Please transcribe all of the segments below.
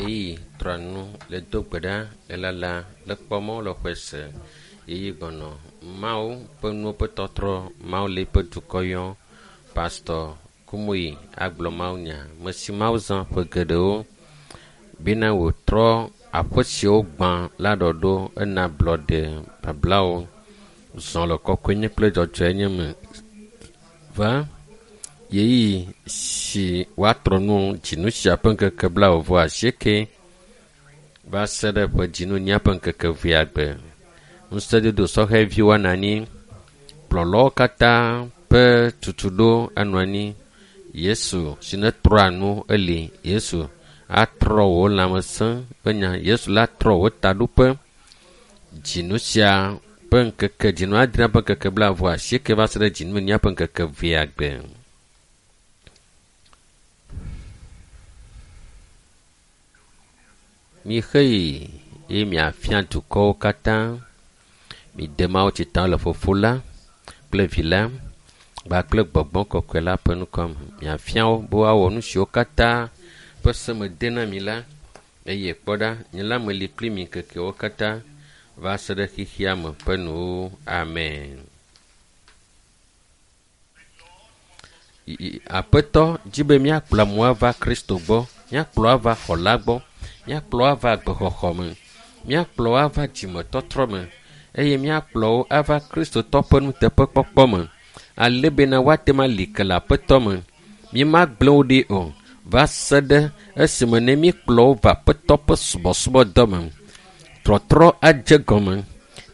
Yeyi trɔnu le do gbe ɖa le lala le kpɔ mɔ le xɔe se. Yeyi gbɔnɔ Mawu ƒe nuwo ƒe tɔtrɔ Mawu le eƒe dukɔ yɔ. Pastor Kumuyi agblɔ Mawu nya. Me si Mawu zã ƒe geɖewo bena wòtrɔ aƒe siwo gbã la ɖɔɖo ena ablɔɖe bablawo zɔ le kɔkɔenye kple dzɔdzɔenye me va yeyi si woatrɔ nu dzinu sia ƒe ŋkeke 28 va se ɖe ƒe dzinu nya ƒe ŋkeke vea gbe. Ŋusẽdodo sɔhɛviwo anɔ anyi, kplɔlawo katã ƒe tutuɖo anɔ anyi. Yesu si netrɔa nu eli. Yesu atrɔ wò lãmesẽ ƒe nya. Yesu la trɔ wò taɖoƒe. Dzinu sia ƒe ŋkeke dzinu adrea ƒe ŋkeke 28 va se ɖe dzinu nya ƒe ŋkeke vea gbe. Mixe yi eye miafia dukɔwo katã. Mide Mawu tsita le Fofo la kple Vi la kpakple Gbɔgbɔ Kɔkɔe la ƒe ŋkɔ me. Miafia wo be woawɔ nu siwo katã ƒe se mede na mi la. Eye kpɔ ɖa, nye la meli kpli mi ŋkekewo katã va se ɖe xexea me ƒe nuwo. Amen. Aƒetɔ dzi be míakplɔ amewo ava Kristo gbɔ, míakplɔ ava xɔla gbɔ, míakplɔ ava agbexɔxɔ me, míakplɔ ava dzimetɔtrɔ me eye míakplɔ wo ava Kristotɔ ƒe nuteƒekpɔkpɔ me. Ale bena woate ŋu ali ke le Aƒetɔ me. Mímagblẽ wo ɖi o va se ɖe esime ne míkplɔ wo va Aƒetɔ ƒe subɔsubɔdɔ me. Trɔtrɔ adze gɔme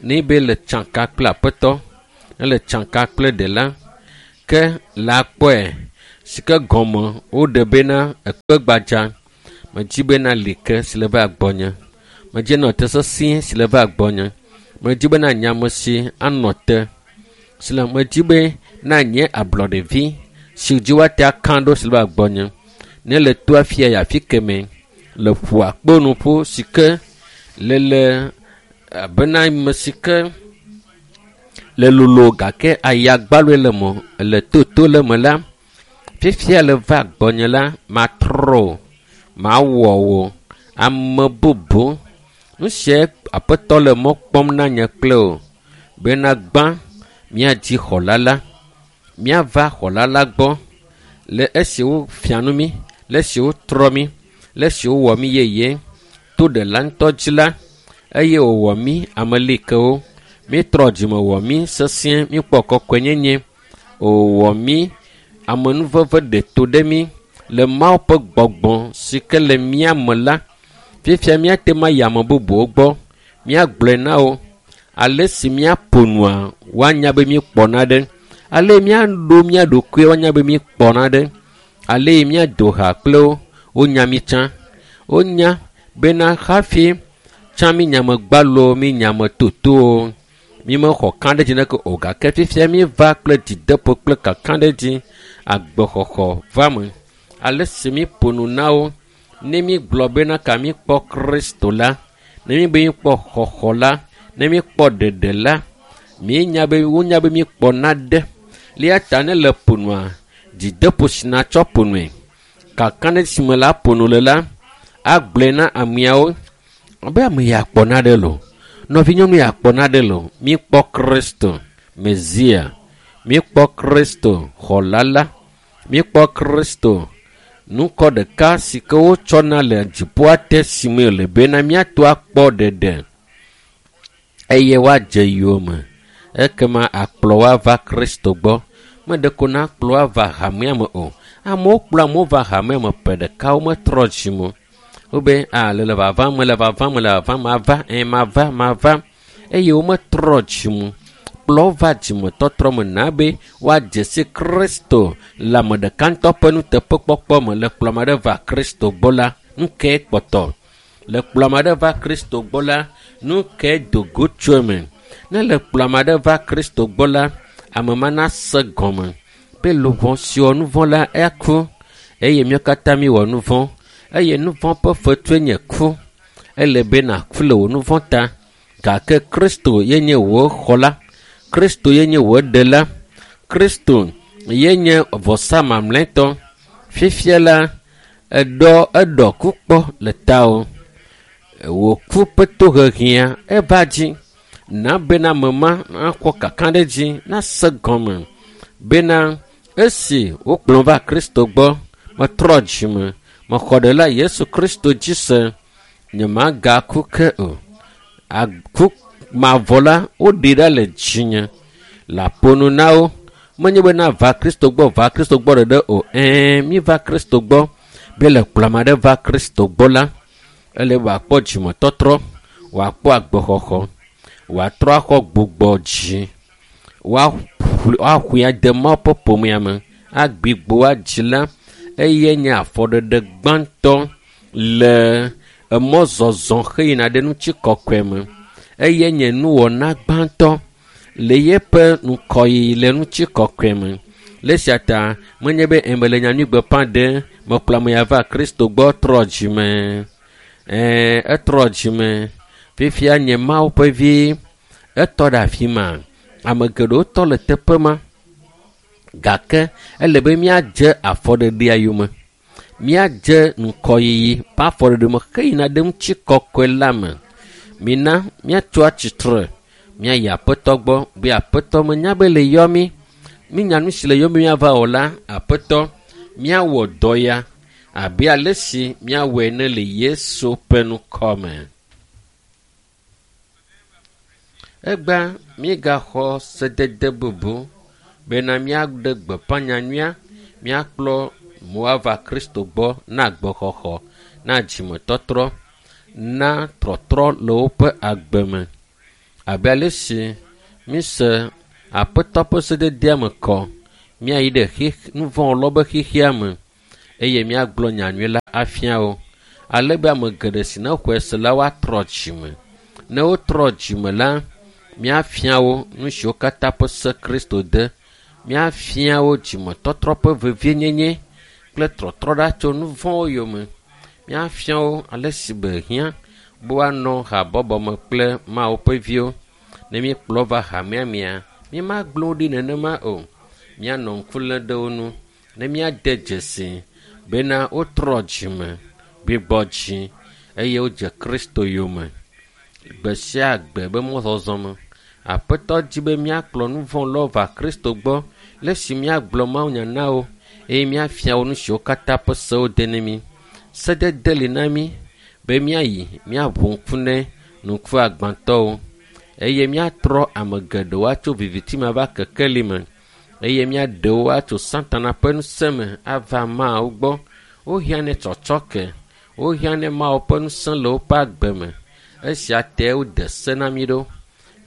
ne be le tsaka kple Aƒetɔ, ne le tsaka kple Ɖela ke la kpɔe si ke gɔme woɖe bena ekpe gbadza. Medzi bena li ke si le va gbɔnye. Medzi nɔ te sesĩe si le va gbɔnye. Medzi bena nye ame si anɔ te si le medzi be na nye ablɔɖevi si dzi woate aka ɖo si le va gbɔnye. Ne le to afia yi afi keme le ƒu akpo nuƒo si ke le le abena ame si ke le lolo gake aya gbaloe le me le toto le me la, fifia le va gbɔnye la, matrɔ o, mawɔ wò ame bubu. Nu sia Aƒetɔ le mɔ kpɔm na nye kple o bena gbã míadzi xɔla la, míava xɔla la gbɔ le esi wofia nu mí, le esi wotrɔ mí, le esi wowɔ mí yeye to ɖela ŋutɔ dzi la eye wòwɔ mí ame likewo. Mítrɔ dzime wɔ mí sesĩe, míkpɔ kɔkɔenyenye. Wòwɔ mí amenuveve ɖeto ɖe mí le Mawu ƒe gbɔgbɔ si ke le mía me la. Fifia míate ŋu ayi ame bubuwo gbɔ, míagblɔe na wo ale si míaƒo nua woanya be míekpɔ naɖe, ale míaɖo mía ɖokui woanya be míekpɔ naɖe, ale míado ha kple wo wonya mí tsã. Wonya bena hafi tsã mí nyamegbalowo, mí nyametotowo, mímexɔ kãɖedzi neke o gake fifia míeva kple dzideƒo kple kakaɖedzi agbexɔxɔ va me. Ale si míƒo nu na wo ne mígblɔ bena ka míkpɔ Kristo la, ne míbe míkpɔ xɔxɔ la, ne míkpɔ ɖeɖe la, míenya be wonya be míkpɔ naɖe. Eya ta ne le ƒo nua, dzideƒo si natsɔ ƒo nue, kakaɖedzi si me la ƒo nu le la, agblɔe na ameawo be ame ya kpɔ naɖe loo, nɔvinyɔnu ya kpɔ naɖe loo. Míkpɔ Kristo Mesia, míkpɔ Kristo xɔla la, míkpɔ Kristo nukɔ ɖeka si ke wotsɔna le dziƒoa te si me le bena míato akpɔ ɖeɖe eye woadze yome. Ekema akplɔ wo ava Kristo gbɔ. Meɖeko nakplɔ wo ava hamea me o. Amewo kplɔ amewo va hamea me ƒe ɖeka wometrɔ dzime o. Wobe a le le vavam, le vavam, le vavam, mava, ɛ mava, mava eye wometrɔ dzime o. Kplɔ wo va dzimetɔtrɔ me na be woadze si Kristo le ame ɖeka ŋutɔ ƒe nuteƒekpɔkpɔ me. Le kplɔ ame aɖe va Kristo gbɔ la, nu kae kpɔtɔ? Le kplɔ ame aɖe va Kristo gbɔ la, nu kae do go tso eme? Ne le kplɔ ame aɖe va Kristo gbɔ la, ame ma nase gɔme be luʋɔ si wɔ nu vɔ̃ la eku eye míawo katã míwɔ nu vɔ̃ eye nu vɔ̃ ƒe fetue nye ku. Ele be nàku le wò nu vɔ̃ ta gake Kristo ye nye wò xɔla, Kristo ye nye wò ɖela, Kristo ye nye vɔsa mamlɛtɔ. Fifia la, Eɖɔ eɖɔ ku kpɔ le tawò. Wò ku ƒe toheʋia eva dzi. Na bena ame ma nakɔ kakaɖedzi nase gɔme bena esi wokplɔ va Kristo gbɔ, metrɔ dzime, mexɔ ɖela Yesu Kristo dzi se, nyemagaku ke o. Aku mavɔ la, woɖi ɖa le dzinye. Le aƒonu na wo. Menye bena va Kristo gbɔ, va Kristo gbɔ ɖeɖe o. Ɛ̃, míva Kristo gbɔ. Be le kplɔ ame aɖe va Kristo gbɔ la, ele be wòakpɔ dzimetɔtrɔ, wòakpɔ agbexɔxɔ, wòatrɔ axɔ gbugbɔ dzi, woaxɔe ade Mawu ƒe ƒomea me, agbigbo adzi la, eye nye afɔɖeɖe gbãtɔ le emɔzɔzɔ heyina ɖe ŋutikɔkɔe me. Eye nye nuwɔna gbãtɔ le yeƒe ŋkɔyiyi le ŋutikɔkɔe me. Le esia ta menye be mele nyanyuigbeƒã ɖem, mekplɔ ame ya va Kristo gbɔ trɔ dzime. Ɛ̃, etrɔ dzime. Fifia nye Mawu ƒe vi. Etɔ ɖe afi ma. Ame geɖewo tɔ le teƒe ma. Gake ele be míadze afɔɖeɖea yome. Míadze ŋkɔyiyi ƒe afɔɖeɖe me heyina ɖe ŋutikɔkɔe la me. Mina míatso atsitre míayi Aƒetɔ gbɔ be Aƒetɔ menya be le yɔ mí. Mínya nu si le yɔ mí míava wɔ la, Aƒetɔ, míawɔ dɔ ya abe ale si míawɔe ene le Yesu ƒe ŋkɔ me. Egbea míegaxɔ sedede bubu bena míaɖe gbeƒã nyanyuia, míakplɔ amewo Kristo gbɔ na agbexɔxɔ, na dzimetɔtrɔ, na trɔtrɔ le woƒe agbe me. Abe ale si míse Aƒetɔ ƒe sededea me kɔ, míayi ɖe xix nuvɔ̃wɔlawo ƒe xexea me eye míagblɔ nyanyui la afia wo. Ale be ame geɖe si nexɔe se la woatrɔ dzime. Ne wotrɔ dzime la, míafia wo nu siwo katã ƒe se Kristo de. Míafia wo dzimetɔtrɔ ƒe vevienyenye kple trɔtrɔ ɖa tso nu vɔ̃wo yome. Míafia wo ale si be hiã be woanɔ habɔbɔ me kple Mawu ƒe viwo. Ne míekplɔ va hamea mea, mímagblẽ wo ɖi nenema o. Míanɔ ŋku lém ɖe wo ŋu ne míade dzesi bena wotrɔ dzime, gbigbɔ dzi eye wodze Kristo yome gbe sia gbe be mɔzɔzɔ me. Aƒetɔ di be míakplɔ nu vɔ̃ va Kristo gbɔ le esi míagblɔ mawunya na wo eye míafia wo nu siwo katã ƒe sewo de na mí. Sedede li na mí be míayi míaʋu ŋku ne ŋkuagbãtɔwo eye míatrɔ ame geɖewo atso viviti me ava kekeli me eye míaɖe wo atso Satana ƒe ŋusẽ me ava Mawu gbɔ. Wohiã ne tsɔtsɔke, wohiã ne Mawu ƒe ŋusẽ le woƒe agbe me. Esia tae wode se na mí ɖo.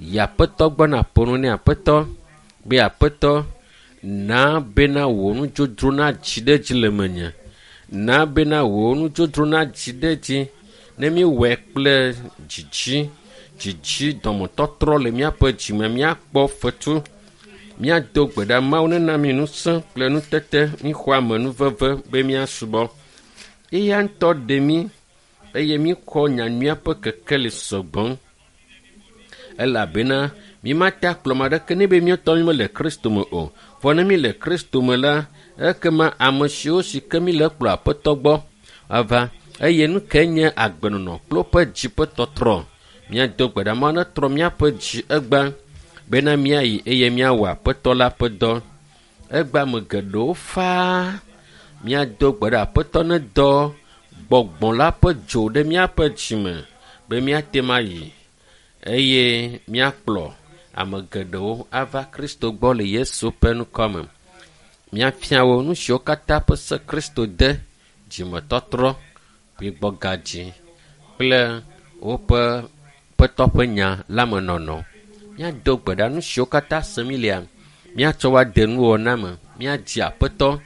Yi Aƒetɔ gbɔ naƒo nu ne Aƒetɔ be Aƒetɔ, na bena wò nudzodzro nadzi ɖe edzi le menye. Na bena wò nudzodzro nadzi ɖe edzi ne míewɔe kple dzidzi, dzidzi dɔmetɔtrɔ le míaƒe dzime míakpɔ fetu. Míado gbe ɖa Mawu nena mí ŋusẽ kple nutete míxɔ amenuveve be míasubɔ. Eya ŋutɔ ɖe mí eye míxɔ nyanyuia ƒe kekeli sɔgbɔ. Elabena mímate akplɔ ame aɖeke ne be míetɔ mímele Kristo me o. Vɔ ne míle Kristo me la, ekema ame siwo si ke míle kplɔ Aƒetɔ gbɔ ava eye nu kae nye agbenɔnɔ kple woƒe dzi ƒe tɔtrɔ. Míado gbe ɖa Mawu netrɔ míaƒe dzi egbea bena míayi eye míawɔ Aƒetɔ la ƒe dɔ. Egbea ame geɖewo faa. Míado gbe ɖa Aƒetɔ nedɔ gbɔgbɔ la ƒe dzo ɖe míaƒe dzime be míate ŋu ayi eye míakplɔ ame geɖewo ava Kristo gbɔ le Yesu ƒe ŋkɔ me. Míafia wo nu siwo katã ƒe se Kristo de, dzimetɔtrɔ, gbigbɔgadzi kple woƒe Aƒetɔ ƒe nya la me nɔnɔ. Míado gbe ɖa nu siwo katã sem mílea, míatsɔ wo ade nuwɔna me, míadzi Aƒetɔ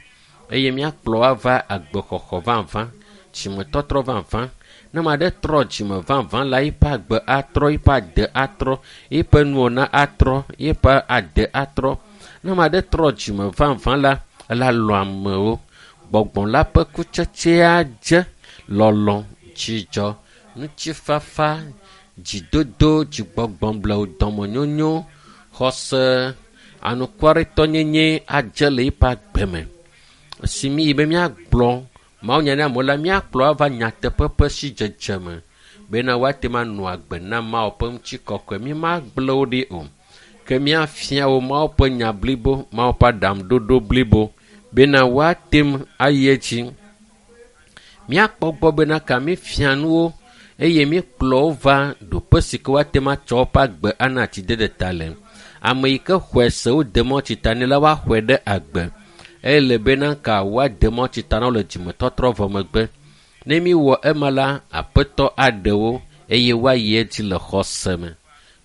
eye míakplɔ wo ava agbexɔxɔ vavã, dzimetɔtrɔ vavã. Ne ame aɖe trɔ dzime vavã la, eƒe agbe atrɔ, eƒe ade atrɔ, eƒe nuwɔna atrɔ, eƒe ade atrɔ. Ne ame aɖe trɔ dzime vavã la, ela lɔ̃ amewo. Gbɔgbɔ la ƒe kutsetsea dze lɔlɔ̃, dzidzɔ, ŋutifafa, dzidodo, dzigbɔgbɔblewu, dɔmenyonyo, xɔse, anukwaretɔnyenye adze le eƒe agbe me. Esi míyi be míagblɔ Mawunya ne amewo la, míakplɔ ava nyateƒe ƒe sidzedze me bena woate ŋu anɔ agbe na Mawu ƒe ŋutikɔkɔe. Mímagblẽ wo ɖi o. Ke míafia wo Mawu ƒe nya blibo, Mawu ƒe aɖaŋuɖoɖo blibo bena woate ŋu ayi edzi. Míakpɔ gbɔ bena ka mífia nuwo eye míekplɔ wo va ɖoƒe si ke woate ŋu atsɔ woƒe agbe ana atsidede ta le. Ame yi ke xɔe se wode mɔ tsita nɛ la, woaxɔe ɖe agbe. Ele bena ka woade mɔ tsita na wo le dzimetɔtrɔ vɔ megbe. Ne míwɔ ema la, aƒetɔ aɖe wo eye woayi edzi le xɔse me.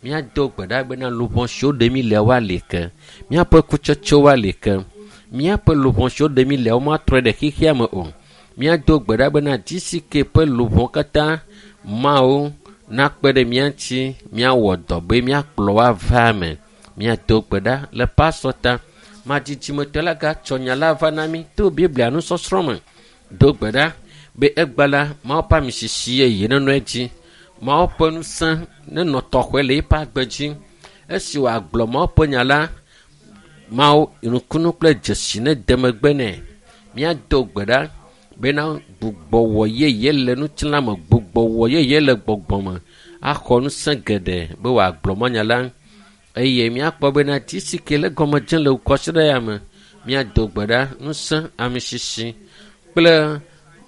Míado gbe ɖa bena luʋɔ siwo ɖe mí lea woali ke. Míaƒe kutsetsewo woali ke. Míaƒe luʋɔ siwo ɖe mí lea womatrɔe ɖe xexea me o. Míado gbe ɖa bena GCK ƒe luʋɔ katã Mawu nakpe ɖe mía ŋuti míawɔ dɔ be míakplɔ wo ava eme. Míado gbe ɖa le pastor ta. Madzidzimetɔ la gatsɔ nya la va na mí to Biblia nusɔsrɔ̃ me. Do gbe ɖa be egba la Mawu ƒe amisisi yeye nenɔ edzi. Mawu ƒe ŋusẽ nenɔ tɔxɔe le eƒe agbe dzi. Esi wòagblɔ Mawu ƒe nya la, Mawu nukunu kple dzesi nede megbe nɛ. Míado gbe ɖa bena gbugbɔwɔ yeye le ŋutilã me, gbugbɔwɔ yeye le gbɔgbɔ me axɔ ŋusẽ geɖe be wòagblɔ mɔnya la eye míakpɔ bena GCK le gɔme dzem le kɔsiɖa ya me. Míado gbe ɖa ŋusẽ amisisi kple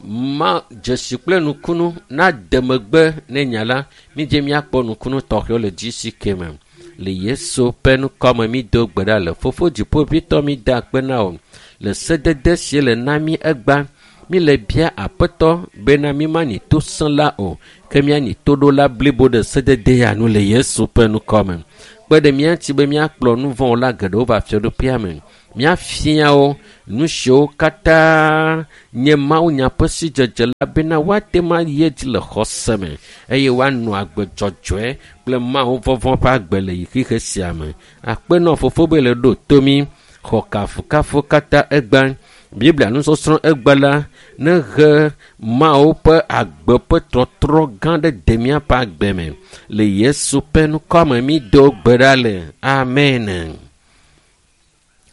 ma dzesi kple nukunu nade megbe ne nya la. Mídze míakpɔ nukunu tɔxɛwo le GCK me. Le Yesu ƒe ŋkɔme mído gbe ɖa le Fofo Dziƒoʋĩtɔ mída akpe na wò le sedede si le na mí egba. Míle bia aƒetɔ bena mímanyi tosẽla o, ke míanyi toɖola blibo ɖe sedede ya nu le Yesu ƒe ŋkɔme. Kpe ɖe mía ŋuti be míakplɔ nu vɔ̃wɔla geɖewo va fiaɖuƒea me. Míafia wo nu siwo katã nye mawunya ƒe sidzedze la bena woate ŋu ayi edzi le xɔse me eye woanɔ agbe dzɔdzɔe kple Mawu vɔvɔ̃ ƒe agbe le yi xixe sia me. Akpe nɔ fofo be le ɖo to mí. Xɔ kafukafu katã egba. Biblia nusɔsrɔ̃ egba la nehe Mawu ƒe agbe ƒe trɔtrɔ gã ɖe de míaƒe agbe me. Le Yesu ƒe ŋkɔme mído gbe ɖa le. Amen.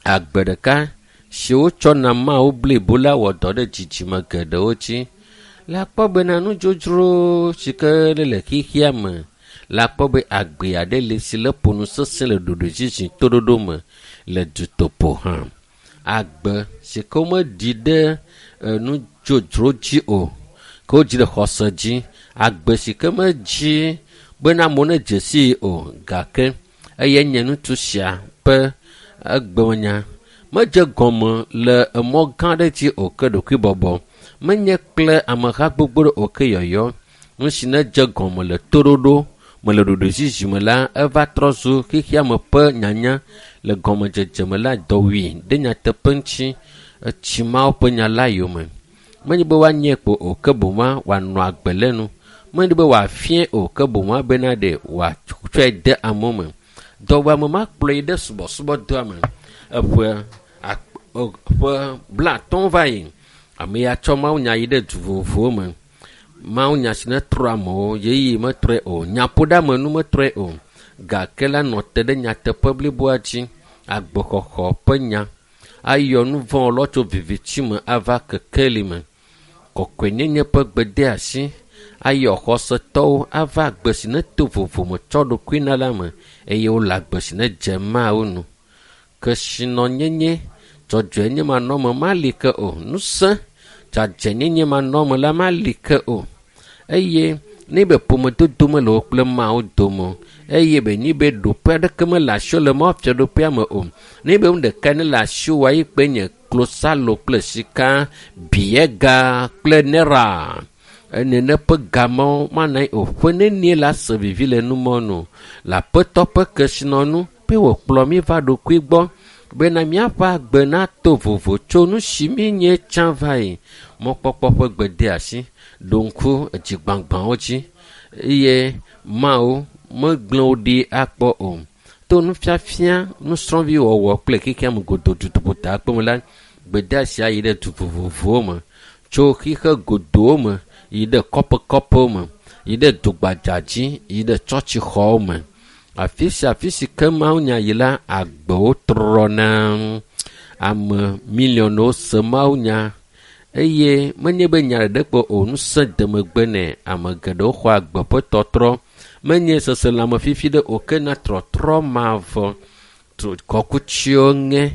Agbe ɖeka si wotsɔ na Mawu blibo la wɔ dɔ ɖe dzidzime geɖewo dzi. Le akpɔ bena nudzodzro si ke le xexea me, le akpɔ be agbe aɖe le si le ƒo nu sesẽ le ɖoɖoezizi toɖoɖo me le dutoƒo hã. Agbe si ke womeɖi ɖe nudzodzro dzi o, ke wodzi ɖe xɔse dzi. Agbe si ke medzi bena amewo nedze sii o, gake eye nye ŋutsu sia ƒe egbemenya. Medze gɔme le emɔ gã aɖe dzi o ke ɖokuibɔbɔ. Menye kple ameha gbogbo ɖe o ke yɔyɔ. Nu si nedze gɔme le toɖoɖo me le ɖoɖoezizi me la, eva trɔ zu xexea me ƒe nyanya le gɔmedzedze me la dɔwui ɖe nyateƒe ŋuti etsi Mawu ƒe nya la yome. Menye be woanye kpo o ke boŋ wòanɔ agbe le nu. Menye be wòafie o ke boŋ bena ɖe wòatsɔe de amewo me. Dɔwɔame ma kplɔe yi ɖe subɔsubɔdɔa me. Eƒe 50 va yi. Ame ya tsɔ mawunya yi ɖe du vovovowo me. Mawunya si netrɔ amewo, ɣeyiɣi metrɔe o, nyaƒoɖeamenu metrɔe o. Gake la nɔ te ɖe nyateƒe bliboa dzi. Agbexɔxɔ ƒe nya ayɔ nu vɔ̃ tso viviti me ava kekeli me. Kɔkɔenyenye ƒe gbedeasi ayɔ xɔsetɔwo ava agbe si neto vovo me tsɔ ɖokui na la me eye wole agbe si nedze Mawu nu. Kesinɔnyenye dzɔdzɔenye manɔme mali ke o. Ŋusẽ dzadzɛnyenye manɔme la mali ke o. Eye ne be ƒomedodo mele wo kple Mawu dome eye be nyi be ɖoƒe aɖeke mele asiwò le Mawu fiaɖuƒea me o. Ne be nu ɖeka ne le asiwò ayi kpe nye klosalo kple sika, biega kple nera. Nene ƒe gamewo mana anyi o. Ƒe nenie la se vivi le numɔ nu. Le aƒetɔ ƒe kesinɔnu be wòkplɔ mí va ɖokui gbɔ bena míaƒe agbe nato vovo tso nu si míenye tsã va yi. Mɔkpɔkpɔ ƒe gbedeasi ɖo ŋku edzigbãgbãwo dzi eye Mawu megblẽ wo ɖi akpɔ o. To nufiafia, nusrɔ̃viwɔwɔ kple xexea me godoo dutoƒo kpɔme la, gbedeasi ayi ɖe du vovovowo me. Tso xixe godoo me yi ɖe kɔƒekɔƒewo me, yi ɖe dugbadza dzi, yi ɖe tsɔtsixɔwo me. Afi sia afi si ke mawunya yi la, agbewo trɔna. Ame miliɔnwo se mawunya Eye menye be nya ɖeɖe kpɔ o, ŋusẽ de megbe nɛ. Ame geɖewo xɔ agbe ƒe tɔtrɔ. Menye seselãme fifi ɖe o, ke na trɔtrɔ mavɔ. Kɔkutsiwo ŋe,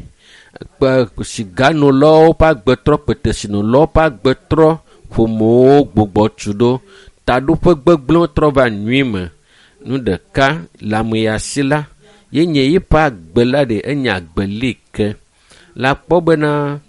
kpe siganolawo ƒe agbe trɔ, kpetesinolawo ƒe agbe trɔ, ƒomewo gbugbɔ tu ɖo, taɖoƒe gbegblẽwo trɔ va nyui me. Nu ɖeka le ame ya si la, ye nye yiƒe agbe la ɖe enye agbe li ke. Le akpɔ bena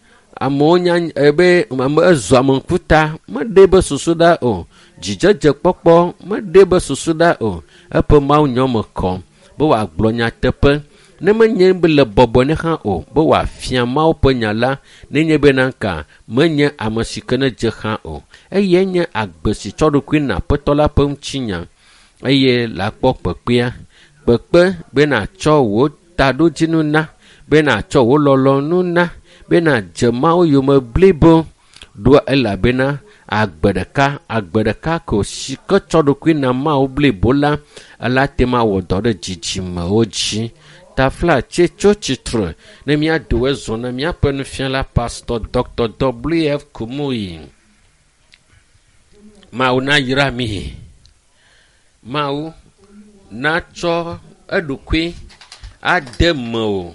amewo nya ebe ame ezɔ ame ŋkuta meɖe be susu ɖa o. Dzidzedzekpɔkpɔ meɖe be susu ɖa o. Eƒe Mawu nyɔ me kɔ be wòagblɔ nyateƒe. Ne menye be le bɔbɔ ne hã o, be wòafia Mawu ƒe nya la, nenye bena ka menye ame si ke ne dze hã o. Eye nye agbe si tsɔ ɖokui na Aƒetɔ la ƒe ŋutinya. Eye le akpɔ kpekpea, kpekpe be nàtsɔ wò taɖodzinu na, be nàtsɔ wò lɔlɔ̃nu na, be nàdze Mawu yome blibo. Ɖoa elabena agbe ɖeka, agbe ɖeka ko si ke tsɔ ɖokui na Mawu blibo la, ela te ma wɔ dɔ ɖe dzidzimewo dzi. Tafla tse tso tsitre ne míado ezɔ na míaƒe nufiala Pastor Dr. W.F. Kumuyi. Mawu nayra mi. Mawu natsɔ eɖokui ade mewò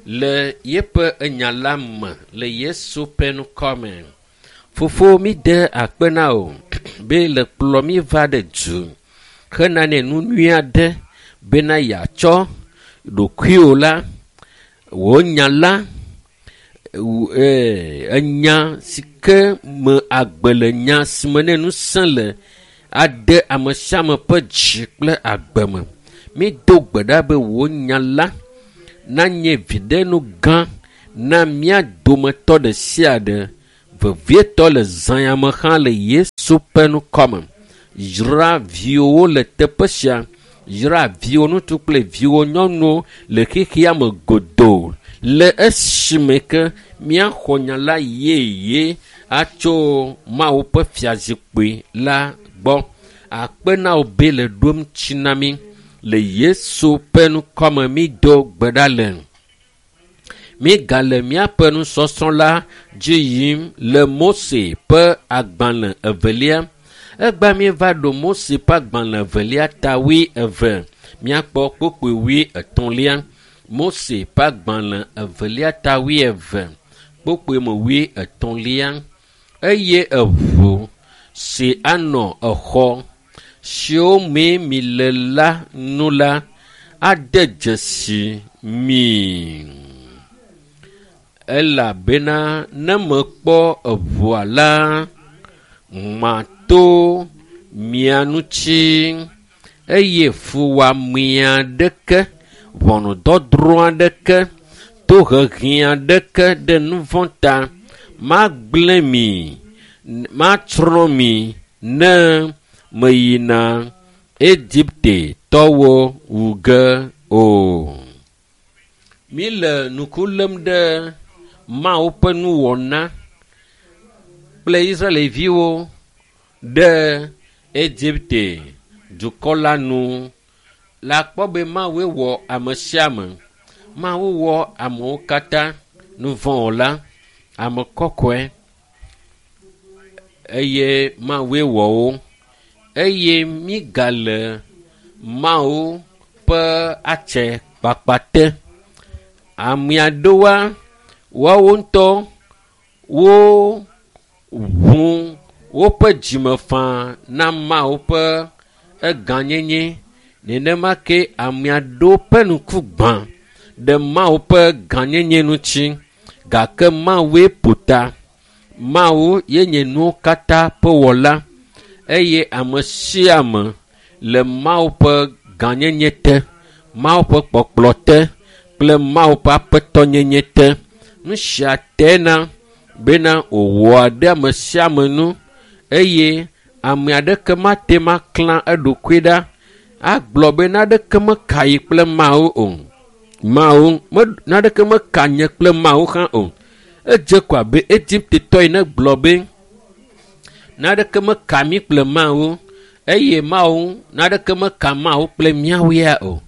le yeƒe enya la me le Yesu ƒe ŋkɔ me. Fofo mi de akpe na wò be le kplɔ mi va ɖe du hena ne nu nyui aɖe bena yeatsɔ ɖokuiwò la, wò nya la, enya si ke me agbe le, nya si me ne ŋusẽ le ade ame sia ame ƒe dzi kple agbe me. Mi do gbe ɖa be wò nya la nanye viɖenu gã na mía dometɔ ɖe sia ɖe, vevietɔ le zã ya me hã le Yesu ƒe ŋkɔ me. Yra viwòwo le teƒe sia. Yra viwò ŋutsu kple viwò nyɔnuwo le xexea me godoo le esime ke míaxɔ nya la yeye atso Mawu ƒe fiazikpui la gbɔ. Akpe na wò be le ɖom tsi na mí le Yesu ƒe ŋkɔ me mi do gbe ɖa le. Mígale míaƒe nusɔsrɔ̃ la dzi yim le Mose ƒe agbalẽ evelia. Egba míeva ɖo Mose ƒe agbalẽ evelia ta 22. Míakpɔ kpukpui 33. Mose ƒe agbalẽ evelia ta 22, kpukpui me 33. Eye eʋu si anɔ exɔ siwo mee mi le la nu la ade dzesi mi. Elabena ne mekpɔ eʋua la, mato mia ŋuti eye fuwɔame aɖeke, ʋɔnudɔdrɔ̃ aɖeke, tohehe aɖeke ɖe nu vɔ̃ ta magblẽ mi, matsrɔ̃ mi ne meyina Egiptetɔwo wu ge o. Mi le ŋku lém ɖe Mawu ƒe nuwɔna kple Israelviwo ɖe Egipte dukɔ la nu. Le akpɔ be Mawue wɔ ame sia ame. Mawu wɔ amewo katã, nuvɔ̃wɔla, ame kɔkɔe eye Mawue wɔ wo. Eye mígale Mawu ƒe atse kpakpa te. Ame aɖewoa, woawo ŋutɔ wo ʋu woƒe dzime faa na Mawu ƒe egãnyenye. Nenema ke ame aɖewo ƒe ŋku gbã ɖe Mawu ƒe gãnyenye ŋuti. Gake Mawue ƒo ta. Mawu ye nye nuwo katã ƒe wɔla eye ame sia ame le Mawu ƒe gãnyenye te, Mawu ƒe kpɔkplɔ te kple Mawu ƒe aƒetɔnyenye te. Nu sia tena bena wòwɔa ɖe ame sia ame nu eye ame aɖeke mate ma klã eɖokui ɖa agblɔ be naɖeke meka yi kple Mawu o. Mawu naɖeke meka nye kple Mawu hã o. Edze ko abe Egiptetɔ ene gblɔ be naɖeke meka mí kple Mawu eye Mawu naɖeke meka Mawu kple míawo ya o.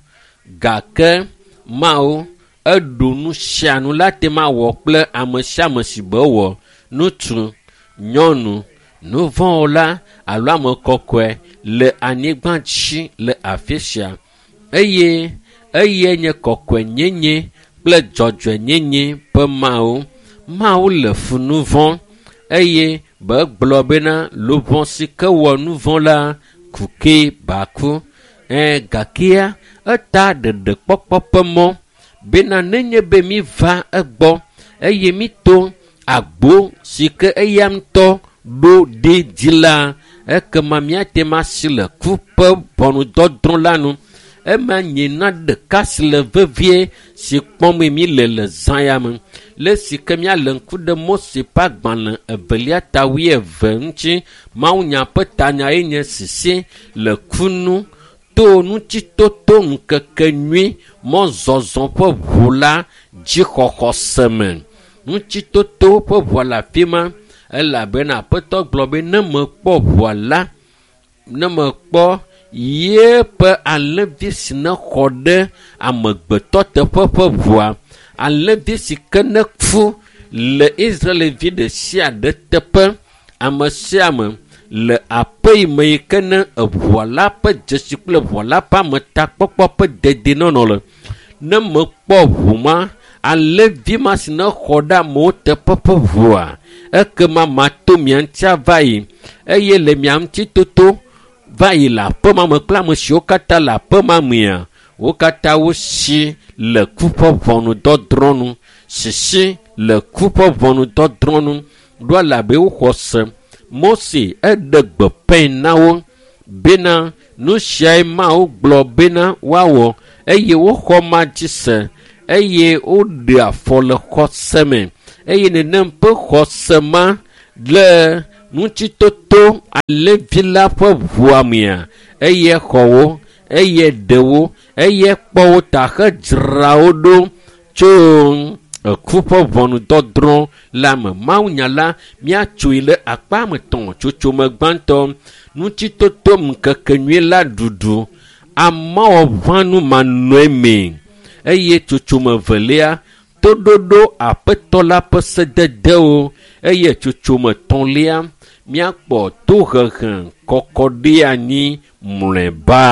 Gake Mawu eɖo nu sia nu la te ma wɔ kple ame sia ame si be wɔ ŋutsu, nyɔnu, nuvɔ̃wɔla alo ame kɔkɔe le anyigba dzi le afi sia eye eye nye kɔkɔenyenye kple dzɔdzɔenyenye ƒe Mawu. Mawu le fu nu vɔ̃ eye be gblɔ bena luʋɔ si ke wɔ nu vɔ̃ la ku ke baku. Gakea eta ɖeɖekpɔkpɔ ƒe mɔ bena nenye be mi va egbɔ eye mi to agbo si ke eya ŋutɔ ɖo ɖi dzi la, ekema míate ŋu asi le ku ƒe ʋɔnudɔdrɔ̃ la nu. Ema nye na ɖeka si le vevie si kpɔm mi le le zã ya me. Le si ke míale ŋku ɖe Mose ƒe agbalẽ evelia ta wuieve ŋuti, mawunya ƒe tanya ye nye sisi le ku nu to ŋutitoto ŋkeke nyui mɔzɔzɔ ƒe ʋu la dzixɔxɔse me. Ŋutitoto ƒe ʋua le afi ma elabena Aƒetɔ gblɔ be ne mekpɔ ʋua la, ne mekpɔ yeƒe alẽvi si ne xɔ ɖe amegbetɔ teƒe ƒe ʋua, alẽvi si ke ne ku le Israelvi ɖe sia ɖe teƒe, ame sia ame le aƒe yi me yi ke ne eʋua la ƒe dzesi kple ʋua la ƒe ametakpɔkpɔ ƒe dedienɔnɔ le. Ne mekpɔ ʋu ma, alẽvi ma si ne xɔ ɖe amewo teƒe ƒe ʋua, ekema mato mia ŋuti ava yi eye le mia ŋuti toto va yi le aƒe ma me kple ame siwo katã le aƒe ma mea, wo katã wosi le ku ƒe ʋɔnudɔdrɔ̃ nu. Sisi le ku ƒe ʋɔnudɔdrɔ̃ nu ɖo elabe woxɔ se. Mose eɖe gbeƒãe na wo bena nu siae Mawu gblɔ bena woawɔ eye woxɔ ma dzi se eye woɖe afɔ le xɔse me eye nenem ƒe xɔse ma le ŋutitoto alẽvi la ƒe ʋua mea, eye xɔ wo, eye ɖe wo, eye kpɔ wo ta hedzra wo ɖo tso eku ƒe ʋɔnudɔdrɔ̃ la me. Mawunya la míatsoe le akpa me tɔ̃ tsotsome gbãtɔ, ŋutitoto ŋkeke nyui la ɖuɖu, amewɔʋãnu manɔe me eye tsotsome velia, toɖoɖo Aƒetɔ la ƒe sededewo eye tsotsome tɔ̃lia, míakpɔ tohehe kɔkɔ ɖe anyi mlɔeba.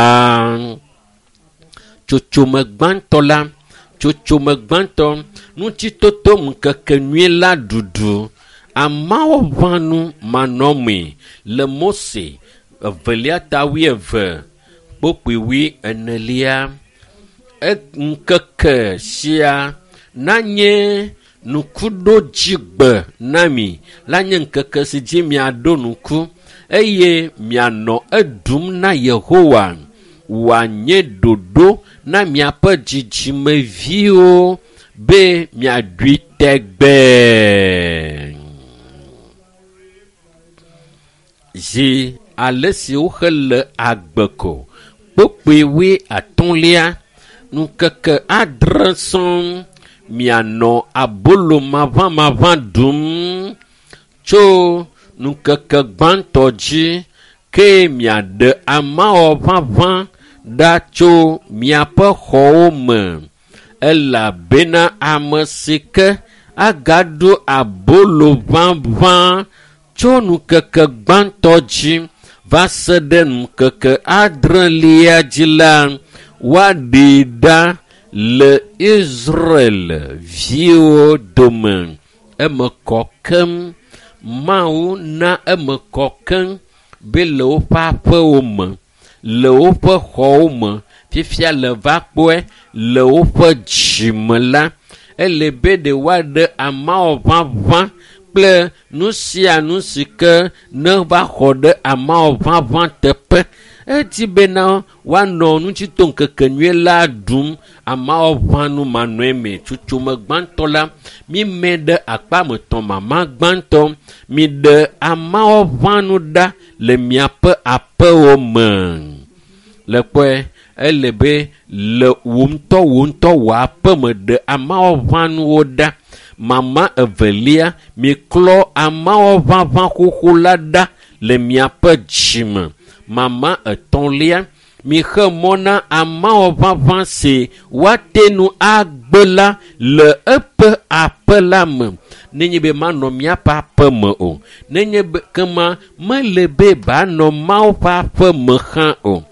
Tsotsome gbãtɔ la, tsotsome gbãtɔ, ŋutitoto ŋkeke nyui la ɖuɖu, amewɔʋãnu manɔmee le Mose evelia ta wuieve kpokpui wuienelia. Ŋkeke sia nanye ŋkuɖodzigbe na mi, la nye ŋkeke si dzi miaɖo ŋku eye mianɔ eɖum na Yehowa. Wòanye ɖoɖo na miaƒe dzidzimeviwo be miaɖui tegbee. Zi ale si woxe le agbe ko kpokpui wuiatɔ̃lia, ŋkeke adre sɔŋ mianɔ abolo maʋamaʋã ɖum tso ŋkeke gbãtɔ dzi ke miaɖe amewɔʋaʋã ɖa tso miaƒe xɔwo me elabena ame si ke agaɖu abolo ʋaʋã tso ŋkeke gbãtɔ dzi va se ɖe ŋkeke adrelia dzi la, woaɖee ɖa le Israel viwo dome. Eme kɔ keŋ. Mawu na eme kɔ keŋ be le woƒe aƒewo me, le woƒe xɔwo me, fifia le va kpɔe le woƒe dzime la, ele be ɖe woaɖe amewɔʋaʋã kple nu sia nu si ke ne va xɔ ɖe amewɔʋaʋã teƒe. Edi bena woanɔ ŋutito ŋkeke nyui la ɖum amewɔʋãnu manɔe me. Tsotsome gbãtɔ la, mime ɖe akpa me tɔ̃ mama gbãtɔ, miɖe amewɔʋãnu ɖa le miaƒe aƒewo me. Le kpɔe, ele be le wò ŋutɔ wò ŋutɔ wò aƒe me ɖe amewɔʋãnuwo ɖa. Mama evelia, miklɔ amewɔʋaʋã xoxo la ɖa le miaƒe dzime. Mama etɔ̃lia, mixe mɔ na amewɔʋaʋã si woate ŋu agblẽ agbe la le eƒe aƒe la me. Nenye be manɔ míaƒe aƒe me o, nenye be kema mele be banɔ Mawu ƒe aƒe me hã o.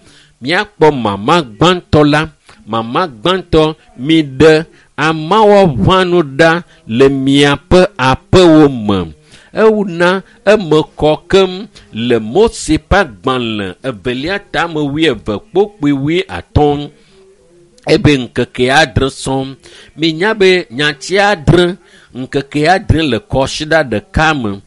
Míakpɔ mama gbãtɔ la, mama gbãtɔ mi ɖe amawɔʋãnu ɖa le miaƒe aƒewo me. Ewuna eme kɔ keŋ le Mose ƒe agbalẽ evelia tame wuieve kpokpui 50 ebe ŋkeke 6 sɔŋ. Minya be nyati 6 ŋkeke 6 le kɔsiɖa ɖeka me.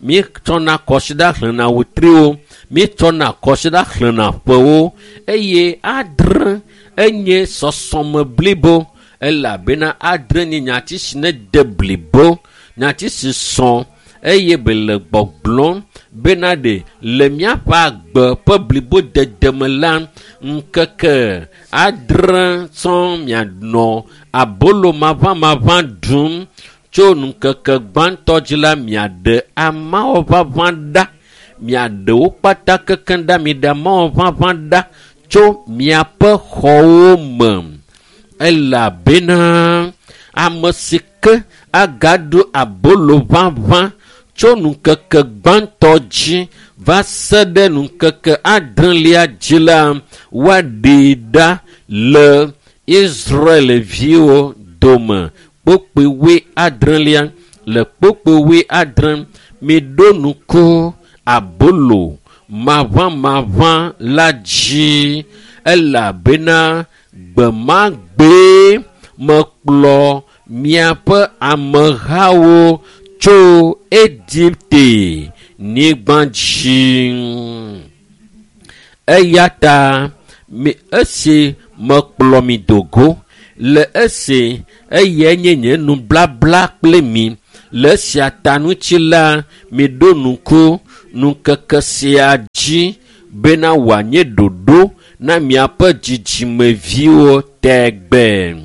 Míetsɔna kɔsiɖa xlẽna wetriwo, míetsɔna kɔsiɖa xlẽna ƒewo eye 6 enye sɔsɔme blibo elabena 6 nye nyati si ne de blibo, nyati si sɔ eye be le gbɔgblɔm bena ɖe le míaƒe agbe ƒe blibo dede me la ŋkeke 6 sɔŋ mianɔ abolo maʋamaʋã ɖum tso ŋkeke gbãtɔ dzi la miaɖe amawɔʋaʋã ɖa, miaɖe wo kpata kekeŋ ɖa, miɖe amawɔʋaʋã ɖa tso miaƒe xɔwo me elabena ame si ke agaɖu abolo ʋaʋã tso ŋkeke gbãtɔ dzi va se ɖe ŋkeke 6lia dzi la woaɖee ɖa le Israelviwo dome. Kpokpui 6lia le kpokpui 6 miɖo ŋku abolo maʋamaʋã la dzi elabena gbemagbee mekplɔ miaƒe amehawo tso Egipte nyigba dzi. Eya ta esi mekplɔ mi do go le esi eyae nye nye nublabla kple mi le esia ta ŋuti la miɖo ŋku ŋkeke sia dzi bena wòanye ɖoɖo na miaƒe dzidzimeviwo tegbe.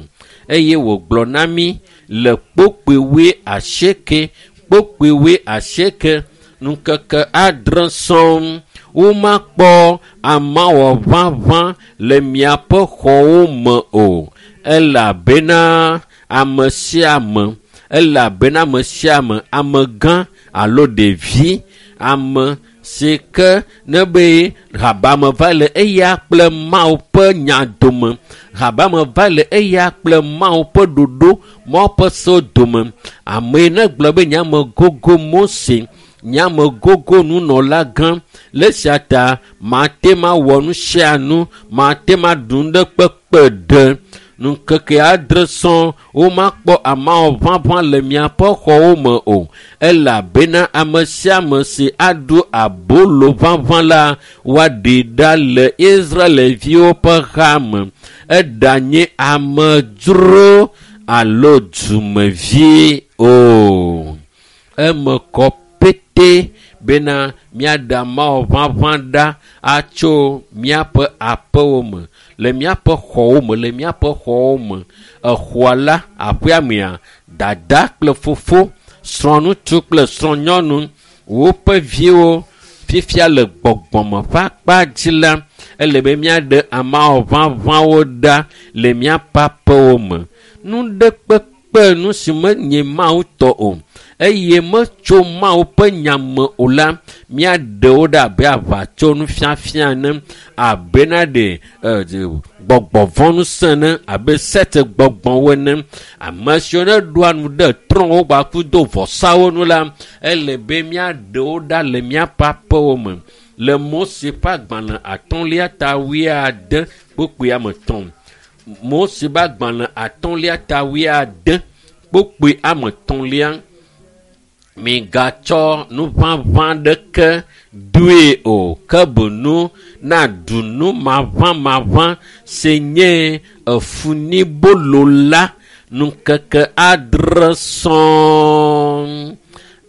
Eye wògblɔ na mi le kpokpui 8 kpokpui 8 ŋkeke 6 sɔŋ womakpɔ amawɔʋaʋã le miaƒe xɔwo me o elabena ame sia ame elabena ame sia ame amegã alo ɖevi ame si ke ne be habame va le eya kple Mawu ƒe nya dome, habame va le eya kple Mawu ƒe ɖoɖo, Mawu ƒe sewo dome. Ame yi ne gblɔ be nye ame gogo Mose, nye ame gogo nunɔla gã, le esia ta mate ma wɔ nu sia nu, mate ma ɖu nu ɖe kpekpe ɖe. Ŋkeke 6 sɔŋ womakpɔ amawɔʋaʋã le miaƒe xɔwo me o elabena ame sia ame si aɖu abolo ʋaʋã la woaɖee ɖa le Israelviwo ƒe ha me. Eɖanye amedzro alo dumevi o. Eme kɔ pete bena míaɖe amawɔʋaʋã ɖa atso míaƒe aƒewo me, le míaƒe xɔwo me, le míaƒe xɔwo me. Exɔa la, aƒea mea, dada kple fofo, srɔ̃ŋutsu kple srɔ̃nyɔnu, woƒe viwo fifia le gbɔgbɔme ƒe akpa dzi la, ele be míaɖe amawɔʋaʋãwo ɖa le míaƒe aƒewo me. Nu ɖe kpekpe nu si menye Mawu tɔ o eye metso Mawu ƒe nya me o la, míaɖe wo ɖe abe aʋatso nufiafia ene, abe na ɖe gbɔgbɔvɔ̃ ŋusẽ ene, abe sete gbɔgbɔwo ene. Ame siwo ne ɖoa nu ɖe trɔ̃wo kpakple do vɔsawo nu la, ele be míaɖe wo ɖa le míaƒe aƒewo me. Le Mose ƒe agbalẽ 5 ta 70 kpokpui ame 3. Mose ƒe agbalẽ 5 ta 70 kpokpui ame 3. Migatsɔ nuʋaʋã ɖeke doe o, ke boŋ naɖu nu maʋamaʋã si nye efunibolo la ŋkeke 6 sɔŋ.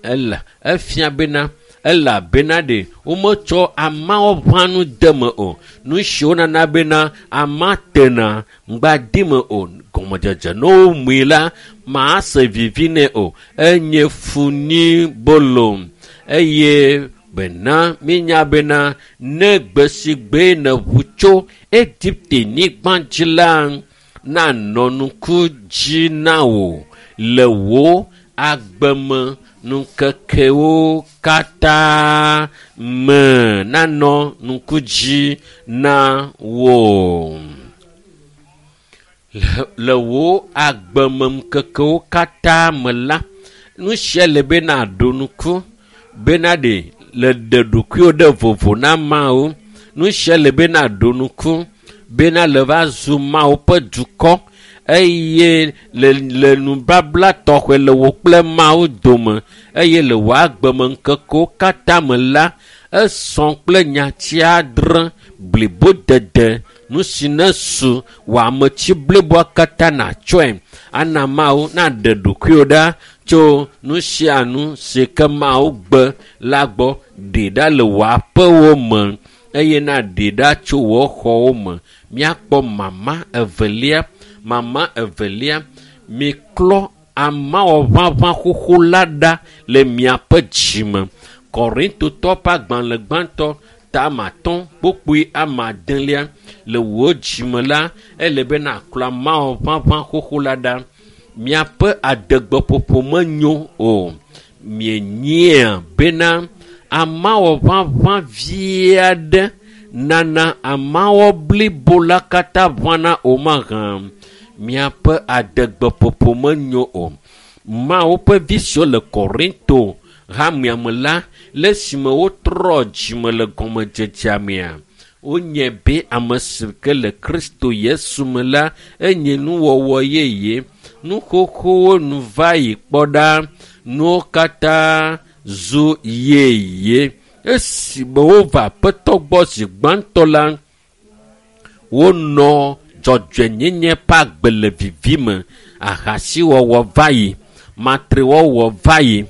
Ela efia bena elabena ɖe wometsɔ amawɔʋãnu de me o. Nu siwo nana bena ama tena ŋgba di me o. Gɔmedzedze ne womui la mase vivi nɛ o. Enye funibolo eye bena mínya bena ne gbe si gbe ne ʋu tso Egipte nyigba dzi la, nanɔ ŋku dzi na wò le wò agbeme ŋkekewo katã me nanɔ ŋku dzi na wò. Le wò agbeme ŋkekewo katã me la, nu sia le be naɖo ŋku bena ɖe le ɖe ɖokuiwò ɖe vovo na Mawu. Nu sia le be naɖo ŋku bena le va zu Mawu ƒe dukɔ eye le nubabla tɔxɛ le wò kple Mawu dome eye le wò agbeme ŋkekewo katã me la, esɔ kple nyati adre blibodede nu si ne su wò ametsi bliboa katã natsɔe ana Mawu naɖe ɖokuiwò ɖa tso nu sia nu si ke Mawu gbe la gbɔ. Ɖe ɖa le wò aƒewo me eye naɖe ɖa tso wò xɔwo me. Míakpɔ mama evelia, miklɔ amawɔʋaʋã xoxo la ɖa le miaƒe dzime. Korintotɔ ƒe agbalẽ gbãtɔ tame 5 kpukpui 9 le wò dzime la, ele be naklɔ amawɔʋaʋã xoxo la ɖa. Miaƒe adegbeƒoƒo menyo o. Mienyia bena amawɔʋaʋã vi aɖe nana amawɔ blibo la katã ʋãna o mahã. Miaƒe adegbeƒoƒo menyo o. Mawu ƒe vi siwo le Korinto hamea me la, le esime wotrɔ dzime le gɔmedzedzea mea, wonye be ame si ke le Kristo Yesu me la, enye nuwɔwɔ yeye. Nu xoxowo nu va yi kpɔ ɖa, nuwo katã zu yeye. Esime wova Aƒetɔ gbɔ zi gbãtɔ la, wonɔ dzɔdzɔenyenye ƒe agbe le vivi me. Ahasiwɔwɔ va yi, matrewɔwɔ va yi,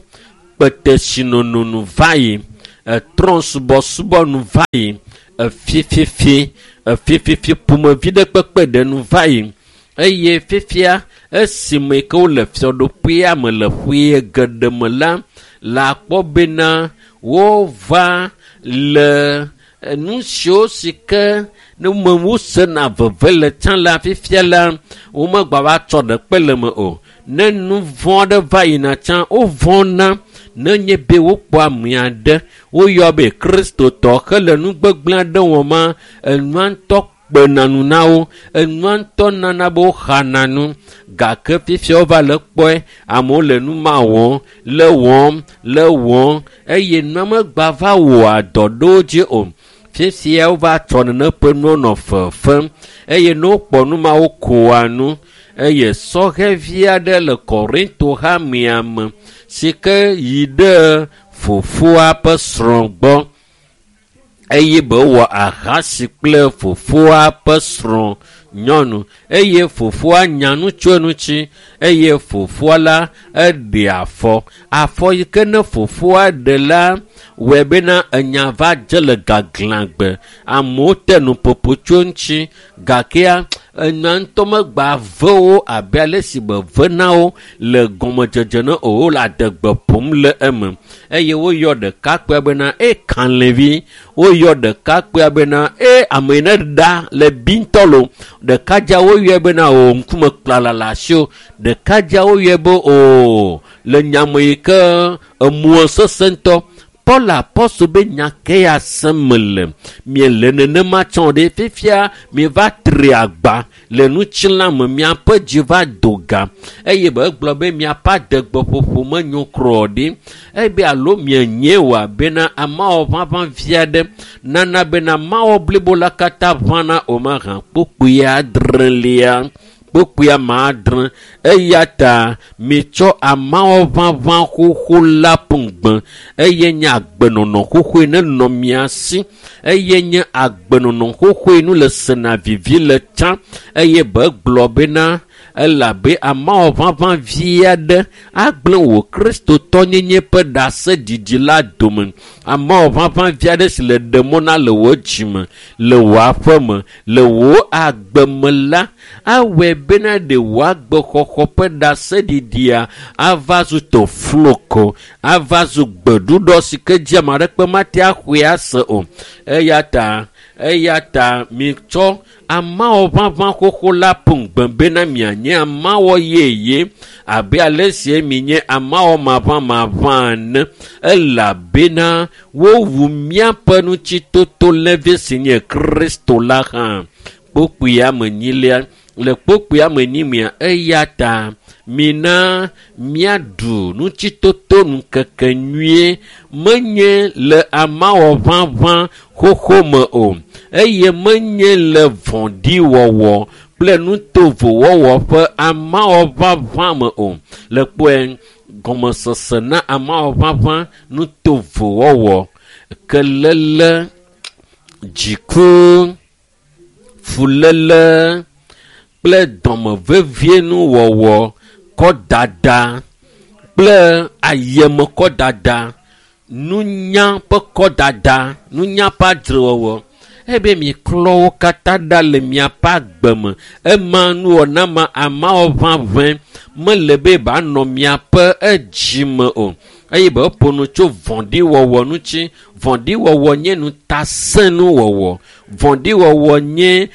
kpetesinono nu va yi, trɔ̃subɔsubɔ nu va yi, efififi ƒomevi ɖe kpekpe ɖe nu va yi. Eye fifia esime ke wole fiaɖuƒea me le ƒe geɖe me la, la kpɔ bena wova le nu siwo si ke ne me wosena veve le tsã la, fifia la womegba va tsɔ ɖekpe le me o. Ne nu vɔ̃ aɖe va yina tsã, wovɔ̃na nenye be wokpɔ ame aɖe woyɔ be Kristotɔ hele nu gbegblẽ aɖe wɔm, enua ŋutɔ kpena nu na wo, enua ŋutɔ nana be woxana nu. Gake fifia wova le kpɔe, amewo le nu ma wɔm, le wɔm eye nua megba va wɔa dɔ ɖe wo dzi o. Fifia wova tsɔ nene ƒe nuwo nɔ fefem eye ne wokpɔ nu ma wokoa nu. Eye sɔhɛvi aɖe le Korinto hamea me si ke yi ɖe fofoa ƒe srɔ̃ gbɔ eye be wɔ ahasi kple fofoa ƒe srɔ̃ nyɔnu eye fofoa nya nu tso eŋuti eye fofoa la eɖe afɔ. Afɔ yi ke ne fofoa ɖe la wɔe bena enya va dze le gaglãgbe. Amewo te nuƒoƒo tso eŋuti gakea enya ŋutɔ megba ve wo abe ale si be ve na wo le gɔmedzedze ne o, wole adegbe ƒom le eme. Eye woyɔ ɖekakpuia bena e kalẽvi, woyɔ ɖekakpuia bena e ame yi ne ɖa le bi ŋutɔ lo. Ɖekadzea woyɔe bena o ŋkume kplala le asiwò. Ɖekadzea woyɔe be o le nyame yi ke emua sesẽ ŋutɔ. Paul apɔstol be nya ke ya sem mele. Miele nenema tsɔ ɖe fifia mieva tri agba le ŋutilã me, miaƒe dzi va do gã eye be egblɔ be miaƒe adegbeƒoƒo menyo kura ɖi. Ebe alo mienye wòa bena amawɔʋaʋã vi aɖe nana bena mawɔ blibo la katã ʋãna o mahã. Kpukpui 7 kpukpui 7. Eya ta mitsɔ amawɔʋaʋã xoxo la ƒu gbe eye nye agbenɔnɔ xoxoe nenɔ mia si eye nye agbenɔnɔ xoxoe nu le sena vivi le tsã. Eye be gblɔ bena elabe amawɔʋaʋã vi aɖe agblẽ wò Kristotɔnyenye ƒe ɖaseɖiɖi la dome. Amawɔʋaʋã vi aɖe si le ɖe mɔ na le wò dzime, le wò aƒeme, le wò agbeme la, awɔe bena ɖe wò agbexɔxɔ ƒe ɖaseɖiɖia ava zu tofloko, ava zu gbeɖuɖɔ si ke dzi ame aɖeke mate axɔe ase o. Eya ta Eya ta mitsɔ amawɔ ʋaʋã xoxo la ƒo ŋugbe bena mianye amawɔ yeye abe ale si minye amawɔ maʋãmaʋã ene elabena wowu míaƒe ŋutitoto levi si nye Kristo la hã. Kpokpuia me nyilia le kpokpuia me nyimia eya ta mina míaɖu ŋutitoto ŋkeke nyuie menye le amawɔ ʋaʋã xoxo me o eye menye le vɔ̃ɖiwɔwɔ kple nutovowɔwɔ ƒe amawɔ ʋaʋã me o. Le kpɔe gɔmesese na amawɔ ʋaʋã nutovowɔwɔ kelele dziku fuléle kple dɔmevevienuwɔwɔ kɔdada kple ayemekɔdada nunya ƒe kɔdada nunya ƒe adzrewɔwɔ ebe miklɔ wo katã ɖa le miaƒe agbe me ema nuwɔna ma amawɔ ʋaʋẽ mele be banɔ miaƒe edzi me o eye be eƒo nu tso vɔ̃ɖiwɔwɔ ŋuti. Vɔ̃ɖiwɔwɔ nye ŋutasẽnuwɔwɔ. Vɔ̃ɖiwɔwɔ nye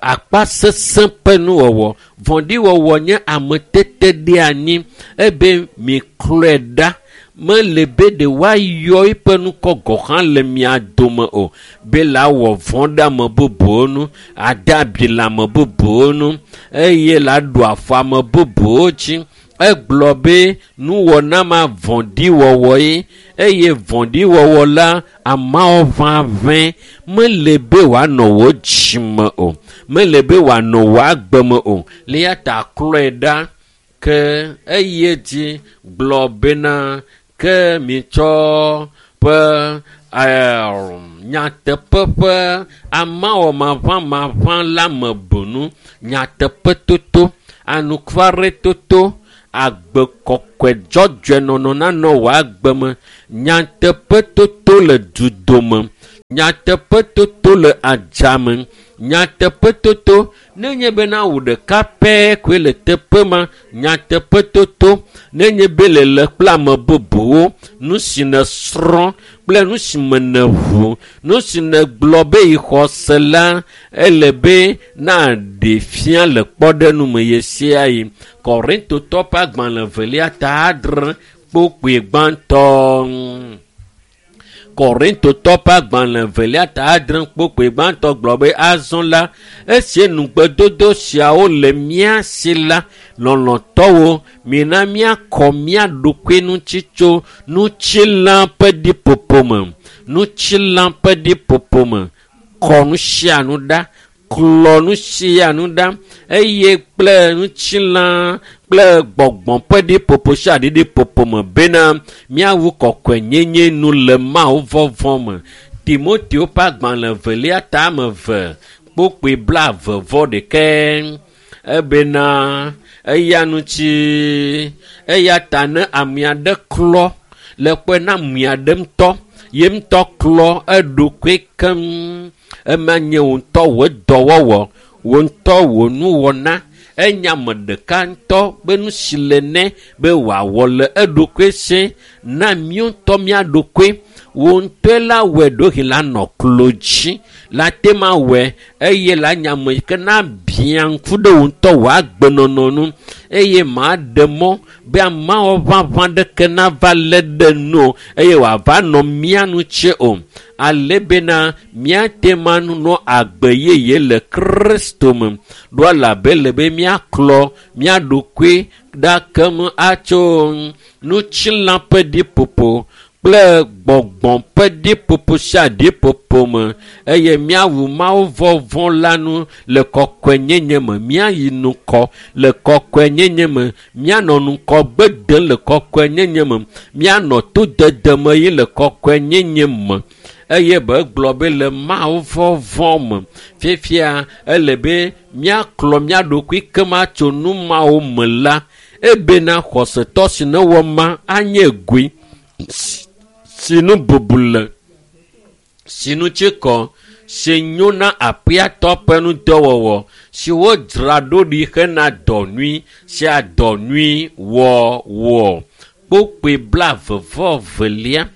akpasesẽ ƒe nuwɔwɔ. Vɔ̃ɖiwɔwɔ nye ameteteɖeanyi ebe miklɔe ɖa. Mele be ɖe woayɔ eƒe ŋkɔ gɔ̃ hã le mia dome o be la wɔ vɔ̃ ɖe ame bubuwo ŋu, ade abi le ame bubuwo ŋu eye la ɖu afɔ ame bubuwo dzi. Egblɔ be nuwɔna ma vɔ̃ɖiwɔwɔ ye eye vɔ̃ɖiwɔwɔ la ameawo ʋaʋẽ mele be wòanɔ wò dzime o, mele be wòanɔ wò agbe me o. Le eya ta klɔe ɖa ke eye dzi gblɔ bena ke mitsɔ ƒe nyateƒe ƒe amawɔ maʋãmaʋã la me bunu nyateƒetoto anukwaretoto agbe kɔkɔe dzɔdzɔe nɔnɔ nanɔ wò agbe me nyateƒetoto le dudome nyateƒetoto le adzame nyateƒetoto nenye bena wò ɖeka pɛ koe le teƒe ma nyateƒetoto nenye be le le kple ame bubuwo nu si nèsrɔ̃ kple nu si me nèʋu nu si nègblɔ be yi xɔ se la ele be naɖe fia le kpɔɖeŋu me ɣe sia ɣi. Korintotɔ ƒe agbalẽ evelia ta adre kpokpui gbãtɔ. Korintotɔ ƒe agbalẽ evelia ta adre kpokpui gbãtɔ gblɔ be azɔ la esi nugbedodo siawo le mía si la lɔlɔ̃tɔwo mina míakɔ mía ɖokui ŋuti tso ŋutilã ƒe ɖiƒoƒo me ŋutilã ƒe ɖiƒoƒo me kɔ nu sia nu ɖa klɔ nu sia nu ɖa eye kple ŋutilã kple gbɔgbɔ ƒe ɖiƒoƒo sia ɖiɖiƒoƒo me bena míawu kɔkɔenyenye nu le Mawu vɔvɔ̃ me. Timoteo ƒe agbalẽ evelia ta ame eve kpokpui blaeve vɔ ɖekɛ ebena eya ŋuti eya ta ne ame aɖe klɔ le kpɔe na ame aɖe ŋutɔ ye ŋutɔ klɔ eɖokui keŋ ema nye wò ŋutɔ wò dɔwɔwɔ wò ŋutɔ wò nuwɔna enya ame ɖeka ŋutɔ be nu si le nɛ be wòawɔ le eɖokui si na míawo ŋutɔ mía ɖokui wò ŋutɔe la wɔe ɖewohĩ la nɔ klo dzi la te ma wɔe eye la nya ame yi ke na bia ŋku ɖe wò ŋutɔ wò agbenɔnɔ nu eye maɖe mɔ be ameawo ʋaʋã ɖeke nava lé ɖe nu o eye wòava nɔ mía nu tse o ale bena míate ma nɔ agbe yeye le Kristo me ɖo elabe le be míaklɔ mía ɖokui ɖa keŋ atso ŋutilã ƒe ɖiƒoƒo kple gbɔgbɔ ƒe ɖiƒoƒo sia ɖiƒoƒo me eye míawu Mawu vɔvɔ̃ la nu le kɔkɔenyenye me míayi ŋkɔ le kɔkɔenyenye me míanɔ ŋkɔgbe dem le kɔkɔenyenye me míanɔ todede me yi le kɔkɔenyenye me eye be gblɔ be le Mawu vɔvɔ̃ me fifia ele be míaklɔ mía ɖokui keŋ atso nu mawo me la ebena xɔsetɔ si newɔ ma anye goe si nu bubu le si nu tsi kɔ si nyo na aƒeatɔ ƒe ŋudɔwɔwɔ si wodzra ɖo ɖi hena dɔ nyui sia dɔ nyui wɔwɔ. Kpokpui blaeve vɔ evelia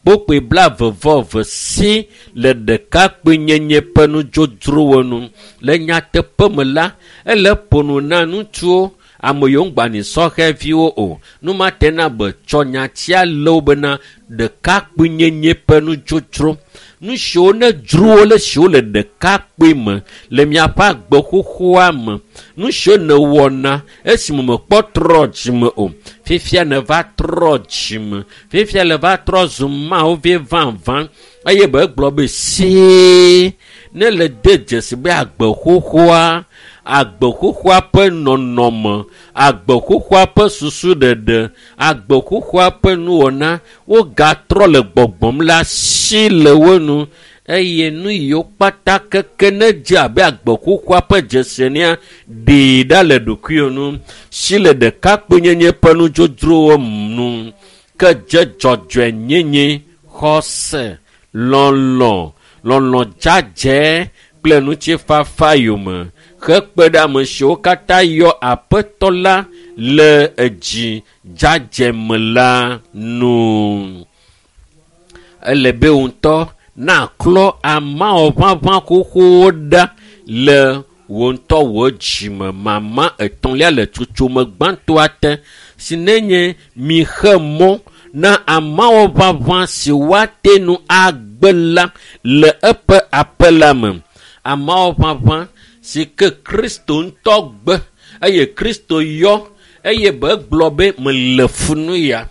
Kpokpoe 22 si le ɖekakpuinyenye ƒe nudzodzrowo nu. Le nyateƒe me la, ele ƒo nu na ŋutsuwo, ame yiwo ŋgba nyi sɔhɛviwo o. Numate na be tsɔ nyatia le wo bena ɖekakpuinyenye ƒe nudzodzro. Nu siwo ne dzro wo le siwo le ɖekakpui me le miaƒe agbe xoxoa me. Nu siwo nèwɔna esime mekpɔ trɔ dzime o. Fifia nèva trɔ dzime. Fifia le va trɔ zu Mawu vi vavã eye be egblɔ be sie ne le de dzesi be agbe xoxoa, agbe xoxoa ƒe nɔnɔme, agbe xoxoa ƒe susuɖeɖe, agbe xoxoa ƒe nuwɔna, wogatrɔ le gbɔgbɔm la si le wo nu eye nu yiwo kpata keke ne dze abe agbe xoxoa ƒe dzesi enea, ɖee ɖa le ɖokuiwò nu. Si le ɖekakpuinyenye ƒe nudzodzrowo nu ke dze dzɔdzɔenyenye, xɔse, lɔlɔ̃, lɔlɔ̃ dzadzɛ kple ŋutifafa yome hekpe ɖe ame siwo katã yɔ Aƒetɔ la le edzi dzadzɛ me la nu. Ele be wò ŋutɔ naklɔ amawɔ ʋaʋã xoxowo ɖa le wò ŋutɔ wò dzime. Mama etɔ̃lia le tsotsome gbãtɔa te si nenye mixe mɔ na amawɔ ʋaʋã si woate ŋu agbe la le eƒe aƒe la me. Amawɔ ʋaʋã si ke Kristo ŋutɔ gbe eye Kristo yɔ eye be egblɔ be mele funu ya.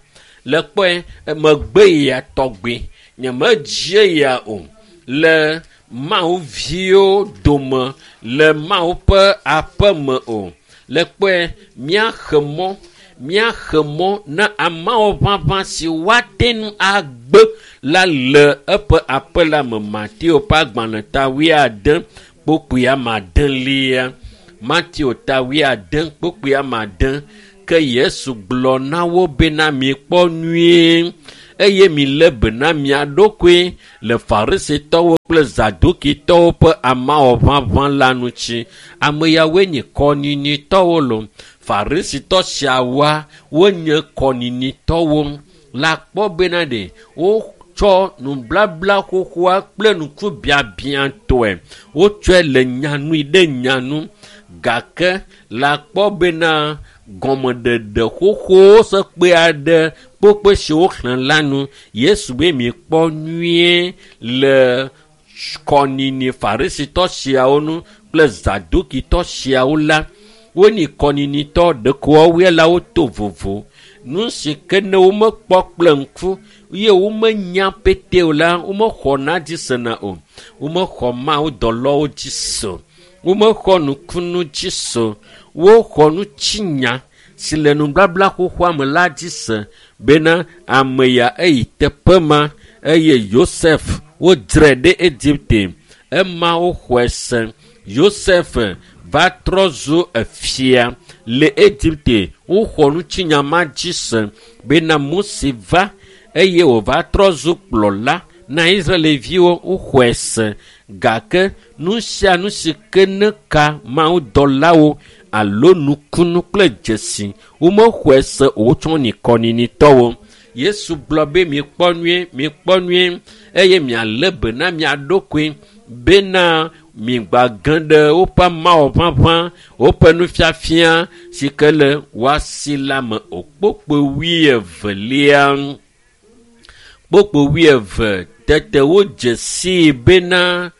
Le kpɔe megbe ya tɔgbe nyemedze ya o le Mawu viwo dome le Mawu ƒe aƒe me o. Le kpɔe míaxe mɔ na amawɔ ʋaʋã si woate ŋu agbe la le eƒe aƒe la me. Mateo ƒe agbalẽ ta 80 kpokpui ame adelia. Mateo ta 80 kpokpui ame ade. Ke Yesu gblɔ na wo bena mikpɔ nyuie eye milé be na mia ɖokui le Farisitɔwo kple Zadukitɔwo ƒe amawɔ ʋaʋã la ŋuti. Ame yawoe nye kɔnyinyiitɔwo lo. Farisitɔ siawoa wonye kɔnyinyiitɔwo. La kpɔ bena ɖe wotsɔ nublabla xoxoa kple ŋkubiabiãtɔe. Wotsɔe le nyanui ɖe nyanu gake la kpɔ bena gɔmeɖeɖe xoxowo sekpe aɖe kpokpe si woxlẽ la nu. Yesu be mikpɔ nyuie le kɔnyinyi Farisitɔ siawo nu kple Zadukitɔ siawo la. Wonyi kɔnyinyiitɔ ɖeko woawoe la woto vovo. Nu si ke ne womekpɔ kple ŋku ye womenya pete o la, womexɔna dzi sena o. Womexɔ Mawu dɔlɔwo dzi se o. Womexɔ nukunu dzi se o. Woxɔ nutsinya si le nublabla xoxoa me la dzi se bena ame ya eyi teƒe ma eye Yosef wodzrae ɖe Egipte. Ema woxɔe se. Yosef va trɔ zu efia le Egipte. Woxɔ nutsinya ma dzi se bena Mose va eye wòva trɔ zu kplɔla na Israelviwo. Woxɔe se gake nu sia nu si ke ne ka Mawu dɔlawo alo nukunu kple dzesi womexɔe se o wotsɔ nyi kɔnyinyiitɔwo. Yesu gblɔ be mikpɔ nyuie, mikpɔ nyuie eye mialé be na mia ɖokui bena migbage ɖe woƒe amawɔ ʋaʋã, woƒe nufiafia si ke le woasi la me o. Kpokpo 22. Kpokpo 22 tete wodze sii bena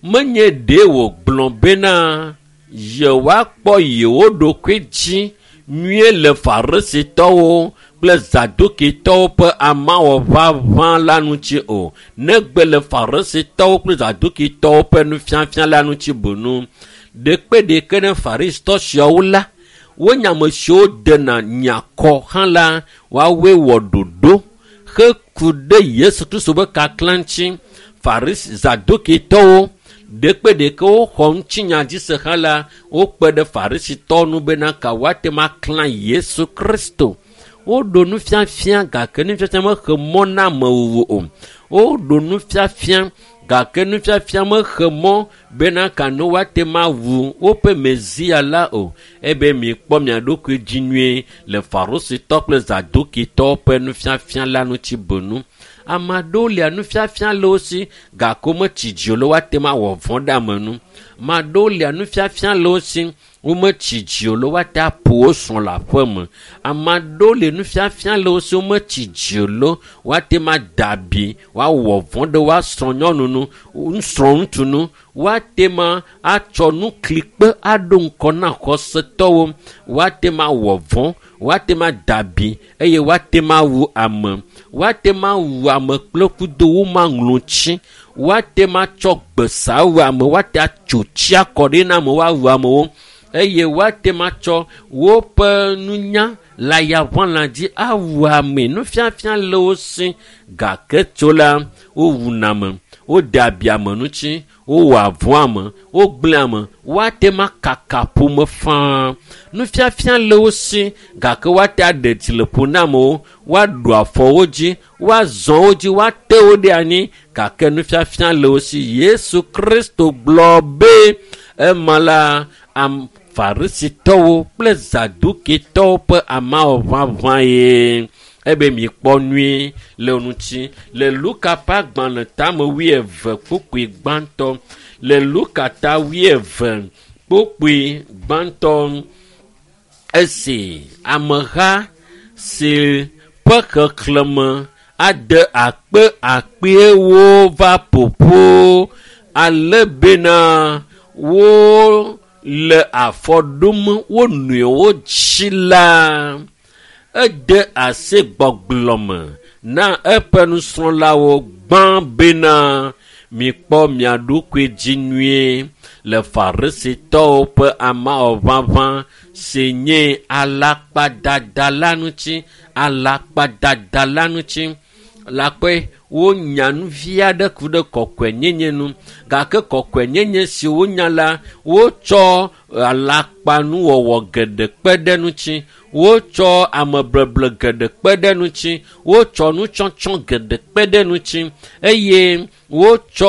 menye ɖe wògblɔ bena yewoakpɔ yewo ɖokui dzi nyuie le Farisitɔwo kple Zadukitɔwo ƒe amawɔ ʋaʋã la ŋuti o, negbe le Farisitɔwo kple Zadukitɔwo ƒe nufiafia la ŋuti boŋ. Ɖekpe ɖeke ne Farisitɔ siawo la, wonye ame siwo dena nyakɔ hã la, woawoe wɔ ɖoɖo heku ɖe Yesu Kristo ƒe kaklã ŋuti. Farisi Zadukitɔwo ɖekpe ɖeke woxɔ ŋutinya dzi se hã la, wokpe ɖe Farisitɔwo ŋu bena ka woate ŋu aklã Yesu Kristo. Woɖo nufiafia gake nufiafia mexe mɔ na amewuwu o. Woɖo nufiafia gake nufiafia mexe mɔ bena kano woate ma wu woƒe Mesia la o. Ebe mikpɔ mia ɖokui dzi nyuie le Farusitɔ kple Zadukitɔwo ƒe nufiafia la ŋuti bonu. Ame aɖewo lia nufiafia le wo si gake wometsi dzi o le woate ma wɔ vɔ̃ ɖe ame nu. Ame aɖewo lia nufiafia le wo si wometsi dzi o le woate aƒo wo srɔ̃ le aƒe me. Ame aɖewo le nufiafia le wo si wometsi dzi o le woate ma da abi woawɔ vɔ̃ ɖe woasrɔ̃ nyɔnu nu, srɔ̃ ŋutsu nu. Woate ma atsɔ nuklikpe aɖo ŋkɔ na xɔsetɔwo. Woate ma wɔ vɔ̃, woate ma da abi eye woate ma wu ame. Woate ma wu ame kple kudo womaŋlɔ tsi. Woate ma tsɔ gbesa wu ame, woate atso tsi akɔ ɖi na ame woawu amewo eye woate ma tsɔ woƒe nunya le ayaʋãla dzi awu ame. Nufiafia le wo si gake tso la wowuna ame, wode abi ame ŋuti, wowɔa vɔ̃ ame, wogblẽ ame, woate ma kaka ƒome faa. Nufiafia le wo si gake woate aɖe dzi le ƒo na amewo, woaɖu afɔ wo dzi, woazɔ wo dzi, woate wo ɖe anyi gake nufiafia le wo si. Yesu Kristo gblɔ be ema la Farisitɔwo kple Zadukitɔwo ƒe amawɔʋaʋã ye. Ebe mikpɔ nyuie le ŋuti le Luka ƒe agbalẽ tame wuieve kpukpui gbãtɔ. Le Luka ta wuieve kpukpui gbãtɔ esi ameha si ƒe xexlẽme ade akpe akpewo va ƒoƒo ale bena wo le afɔ ɖom wo nɔewo dzi la, ede asi gbɔgblɔ me na eƒe nusrɔ̃lawo gbã bena mikpɔ mia ɖokui dzi nyuie le Farisitɔwo ƒe amawɔʋaʋã si nye alakpadada la ŋuti. Alakpadada la ŋuti. Lakpɔe wonya nu vi aɖe ku ɖe kɔkɔenyenye nu gake kɔkɔenyenye si wonya la wotsɔ alakpanuwɔwɔ geɖe kpe ɖe ŋuti, wotsɔ amebleble geɖe kpe ɖe ŋuti, wotsɔ nutsɔtsɔ geɖe kpe ɖe ŋuti eye wotsɔ